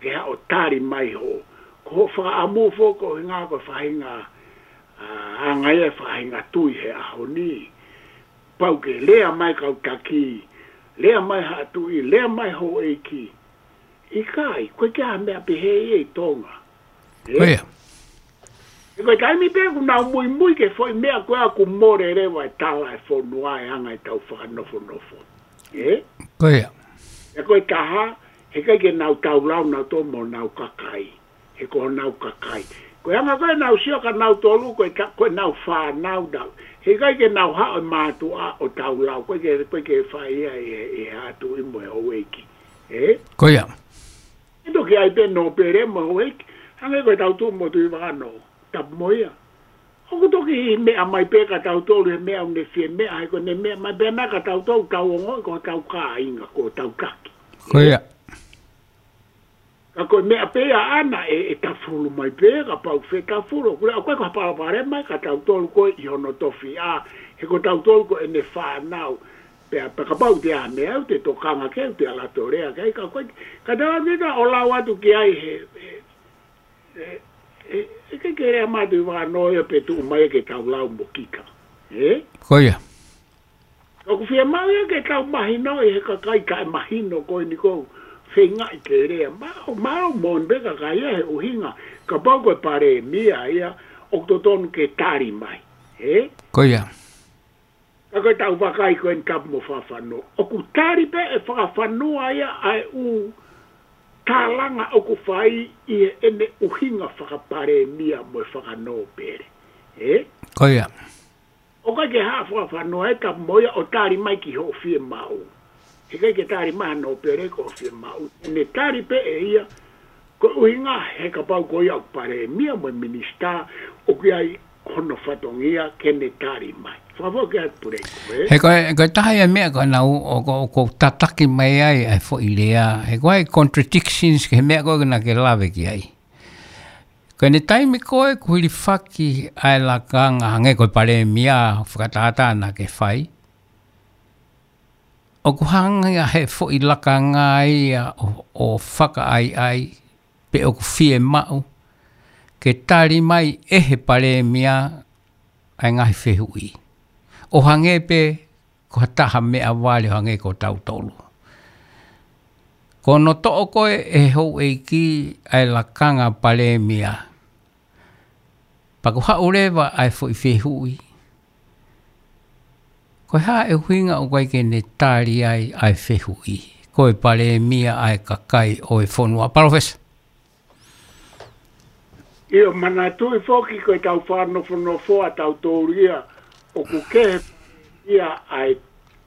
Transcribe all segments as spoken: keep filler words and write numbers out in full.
ke haʻu ʻo tali mai hoʻo. Ko hoʻo fakaʻamu foki ko e ngaahi ko e faʻahinga, ʻa, anga ia e faʻahinga tui he ʻaho ni. Pau ke lea mai kau taki, lea mai haʻa tuʻi, lea mai houʻeiki. ʻIkai, ʻoku ʻikai ke ʻi ai ha meʻa pehē ia ʻi Tonga. Ē? Ko ia. He ko e taimi pē ʻoku nau muimui ki he foʻi meʻa ko ē ʻoku mole leva e tala e fonua e anga ʻetau fakanofonofo. Ē? Ko ia. He ko e taha, heʻikai ke nau taulau nautolu mo honau kakai. He ko honau kakai. Ko e anga ko ē ʻenau sio kia nautolu ko e ta-, ko ʻenau fānau nau. Heʻikai ke nau haʻu e mātuʻa ʻo taulau. ʻOku ʻikai ke, ʻoku ʻikai ke fai ia ʻe, ʻe haʻa tuʻi mo e houʻeiki. Ē? Ko ia. ʻE toki ʻi ai pē nōpele mo e houʻeiki. Hangē ko e tau tuʻu mo Tuʻivakanō. Tapu mo ia. ʻOku toki meʻa mai pē kia tautolu he meʻa ʻoku ne fie meʻa, he ko ʻene meʻa mai pē ʻana kia tautolu, tau ongoʻi ko hotau kāinga, ko hotau taki. Ko ia. Ka ko e meʻa pē ia ʻana ʻe, ʻe tafulu mai pē, kapau fetafulu, ʻoku ʻikai ko ha palopalema ia kia tautolu ko ē ʻi hono tofiʻa, he ko tautolu ko ʻene fānau. Pea, pea kapau te ʻi ai ha meʻa, ʻoku te tokanga ki ai, ʻoku te ʻalu atu ʻo lea ki ai, ka ko e, ka te ʻalu atu ʻo lau atu ki ai he, he, he, he, he ke kere a mātuʻi vānoa ia pe tuʻu mai ke taulau mo kita. Ē? Ko ia. Ka ʻoku fiemaʻu ia ke tau mahinoʻi he kakai kae mahino ko eni ʻoku ou feingaʻi ke lea. Mālō, mālō moʻoni pē kakai ia he ʻuhinga. Kapau ko e palēmia ia ʻoku totonu ke tali mai. Ē? Ko ia. Ka ko e tau vakai ko eni Tapu mo Fakafanua. ʻOku tali pē ʻe Fakafanua ia ʻa e ʻū tālanga ʻoku fai ʻi heʻene ʻuhinga fakapalēmia mo e fakanōpele. Ē? Ko ia. ʻOku ʻikai ke haʻu Fakafanua ʻe Tapu mo ia ʻo tali mai ki hoʻo fiemaʻu. Heʻikai ke tali mai ha nōpele ko hoʻo fiemaʻu. ʻEne tali pē ʻe ia, ko e ʻuhinga he kapau ko ia ʻoku palēmia mo e minisitā, ʻoku ʻi ai hono fatongia ke ne tali mai. Fakafoki atu Puleiku, ē? He ko e, ko e taha ia meʻa ko ena ʻoku, ʻoku, ʻoku tataki mai ai ʻa e foʻi lea. He ko e contradictions ki he meʻa ko ē naʻa ke lave ki ai. Ko ʻene taimi ko ē kuo hilifaki ʻa e lakanga hangē ko e palēmia fakatātā naʻa ke fai. ʻOku hanga ia he foʻi lakanga ia ʻo, ʻo fakaʻaiʻai pe ʻoku fiemaʻu ke tali mai ʻe he palēmia ʻa e ngaahi fehuʻi. ʻO hangē pē ko ha taha meʻavale ʻo hangē ko tautolu. Ko hono toʻo ko ē ʻe he houʻeiki ʻa e lakanga palēmia. Pea kuo haʻu leva ʻa e foʻi fehuʻi. Ko e hā e ʻuhinga ʻoku ʻikai ke ne tali ai ʻa e fehuʻi. Ko e palēmia ʻa e kakai ʻo e fonua. Palōfesa. ʻIo, manatuʻi foki ko e tau fakanofonofo ʻa tautolu ia, ʻoku kehe ia ʻa e,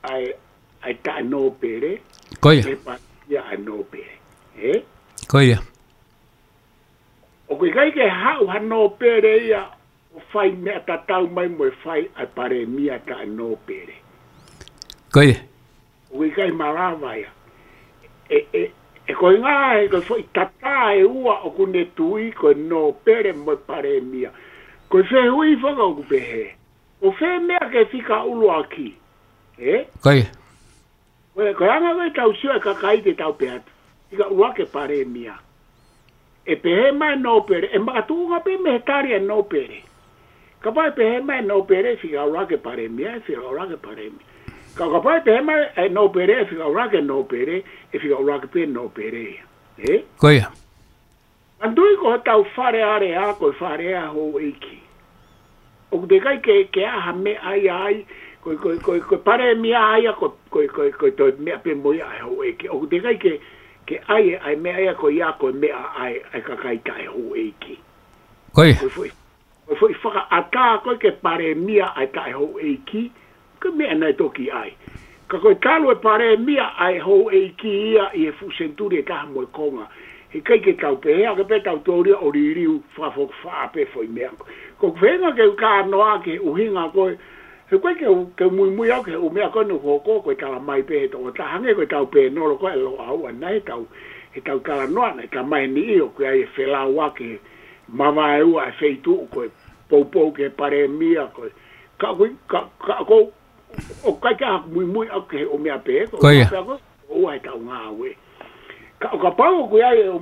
ʻa e, ʻa e taʻenōpele. Ko ia. He pa ia ʻa e nōpele. Ē? Ko ia. ʻOku ʻikai ke haʻu ha nōpele ia ʻo fai meʻa tatau mai mo e fai ʻa e palēmia taʻenōpele. Ko ia. ʻOku ʻikai malava ia. ʻE, ʻe, ʻe ko e ngaahi, ko e foʻi tatā ʻe ua ʻoku ne tui ko e nōpele mo e palēmia. Ko e fehuʻi foki ʻoku pehē. ʻO fē meʻa ke fika ʻuluaki. Ē? Ko ia. Ko e, ko e anga ko e tau sio e kakai te tau pehē atu. Fika ʻuluaki e palēmia. ʻE pehē mai nōpele, ʻe makatuʻunga pē mei he tali e nōpele. Kapau ʻe pehē mai nōpele, fika ʻuluaki e palēmia, ʻe fika ʻuluaki e palēmia. Ka, kapau ʻe pehē mai e nōpele, ʻe fika ʻuluaki e nōpele, ʻe fika ʻuluaki pē nōpele ia. Ē? Ko ia. Manatuʻi ko hotau Fale Alea, ko e Fale Alea houʻeiki. ʻOku teʻeki ai ke, ke ʻi ai ha meʻa ia ai, ko, ko, ko, ko e palēmia ia, ko, ko, ko, ko e toe meʻa pē mo ia ʻa e houʻeiki. ʻOku teʻeki ai ke, ke ʻi ai e, ʻa e meʻa ia ko ia ko e meʻa ʻa e, ʻa e kakai taʻehouʻeiki. Ko ia. Ko e foʻi, ko e foʻi fakaʻatā ko ē ke palēmia ʻa e taʻehouʻeiki, ko e meʻa naʻe toki ʻi ai. Ka ko e talu e palēmia ʻa e houʻeiki ia ʻi he fuʻu senituli ʻe taha mo e konga. Heʻikai ke tau pehē, ʻa ke pē tau tōlia ʻo liliu fakafoki faʻa pē foʻi meʻa. Ko e feinga ke u kānoa ki he ʻuhinga ko ē, he ʻoku ʻikai ke u, ke u muimui au ki he ʻū meʻa ko ē naʻe hoko ko e tala mai pē he tokotaha hangē ko e tau pēnolo ko ē ʻa Loʻau ʻanai he tau, he tau talanoa naʻe tala mai ʻe niʻihi ʻoku ʻi ai e felauʻaki mavaeua e feituʻu ko e poupou ki he palēmia ko ē. Ka ʻoku, ka, ka ʻoku, ʻoku ʻikai ke u muimui au ki he ʻū meʻa pehē, ko e Ko ia. Meʻa pehē ko ē, ʻoua ʻe tau ngāue. Ka ʻo kapau ʻoku ʻi ai e